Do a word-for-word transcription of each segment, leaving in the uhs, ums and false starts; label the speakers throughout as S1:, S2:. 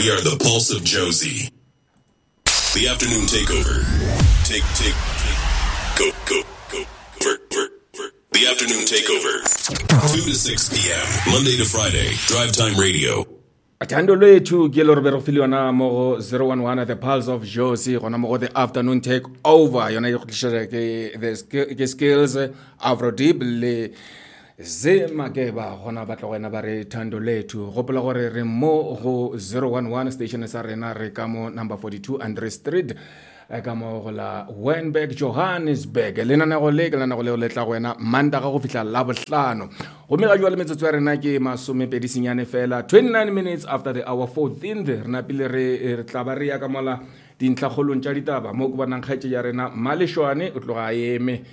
S1: We are the pulse of Jozi. The afternoon takeover. Take, take, take. Go, go, go. Ver, ver, ver. The afternoon takeover. two to six p.m. Monday to Friday. Drive Time Radio.
S2: Thando Lwethu ke le re be re file yona mo go zero one one The Pulse of Jozi, gona mo go The Afternoon Take Over, yona e go tlišetša ke the ke Skills Afrodeep le Zemakeba, gona ba tla go wena ba re Thando Lwethu. Gopola gore re mo go zero one one station sa rena, re ka mo number forty-two Andre Street, ka mo go la Wynberg, Johannesburg. Lenanego le ke lenanego leo le tla go wena Mantaga go fihla Labohlano. Gomme ga jwale metsotso ya rena ke masomepedi senyane fela, twenty-nine minutes after the hour fourteenth. Re napile re, re tla ba re ya ka mola dintlhakgolong tša ditaba mo ke bonang kgaetšedi ya rena Malešwane o tloga a eme,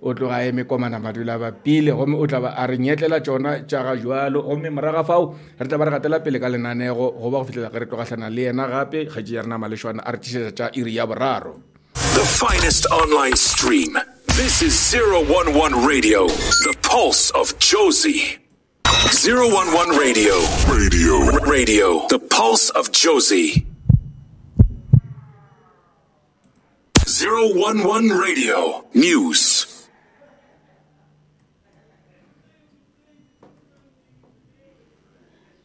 S2: o tloga a eme komana madula ba pile, gomme o tla ba a re nyetlela tšona tša ga jwalo. Gomme morago fao re tla ba re gatela pele ka lenanego go ba go fihlela ge re tlogahlana le yena gape kgaetšedi ya rena Malešwane a re tlišetša tša iri ya boraro.
S1: The finest online stream. This is zero one one Radio, the pulse of Jozi. zero one one Radio. Radio. Radio, the pulse of Jozi. zero one one Radio News.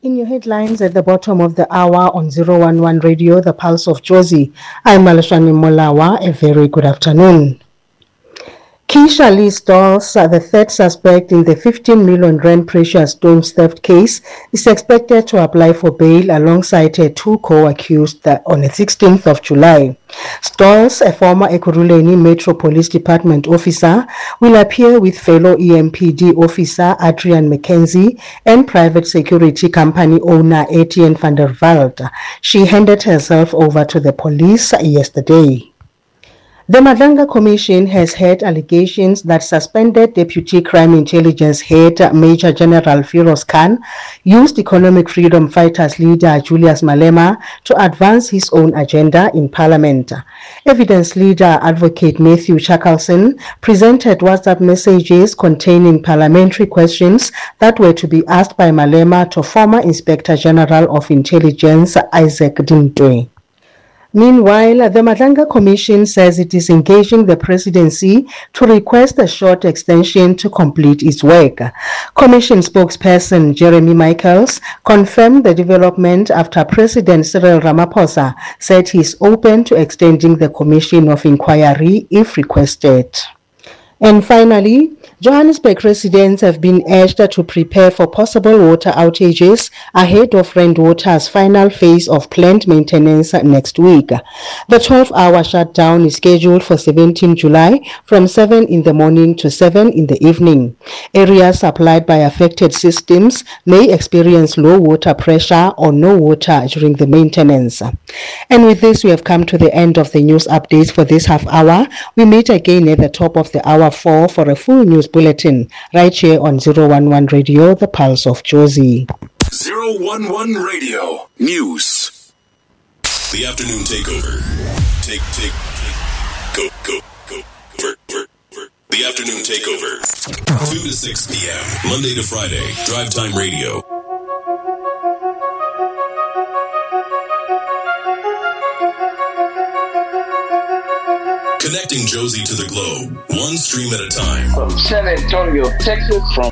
S3: In your headlines at the bottom of the hour on zero one one Radio, the Pulse of Jozi, I'm Maleshwane Molawa. A very good afternoon. Keisha Lee Stolz, the third suspect in the fifteen million rand precious stones theft case, is expected to apply for bail alongside her two co-accused on the sixteenth of July. Stolz, a former Ekurhuleni Metro Police Department officer, will appear with fellow E M P D officer Adrian McKenzie and private security company owner Etienne van der Walt. She handed herself over to the police yesterday. The Madlanga Commission has heard allegations that suspended Deputy Crime Intelligence Head Major General Firoz Khan used Economic Freedom Fighters leader Julius Malema to advance his own agenda in Parliament. Evidence leader Advocate Matthew Chaskalson presented WhatsApp messages containing parliamentary questions that were to be asked by Malema to former Inspector General of Intelligence Isaac Dintwe. Meanwhile, the Madlanga Commission says it is engaging the presidency to request a short extension to complete its work. Commission spokesperson Jeremy Michaels confirmed the development after President Cyril Ramaphosa said he is open to extending the commission of inquiry if requested. And finally, Johannesburg residents have been urged to prepare for possible water outages ahead of Rand Water's final phase of planned maintenance next week. The twelve-hour shutdown is scheduled for seventeenth July from seven in the morning to seven in the evening. Areas supplied by affected systems may experience low water pressure or no water during the maintenance. And with this, we have come to the end of the news updates for this half hour. We meet again at the top of the hour four for a full news bulletin right here on zero one one Radio, the Pulse of Jozi.
S1: zero one one Radio News. The afternoon takeover. Take, take, take. Go, go, go. Ver, ver, ver. The afternoon takeover. two to six P M Monday to Friday. Drive Time Radio. Connecting Jozi to the globe, one stream at a time.
S4: From San Antonio, Texas. From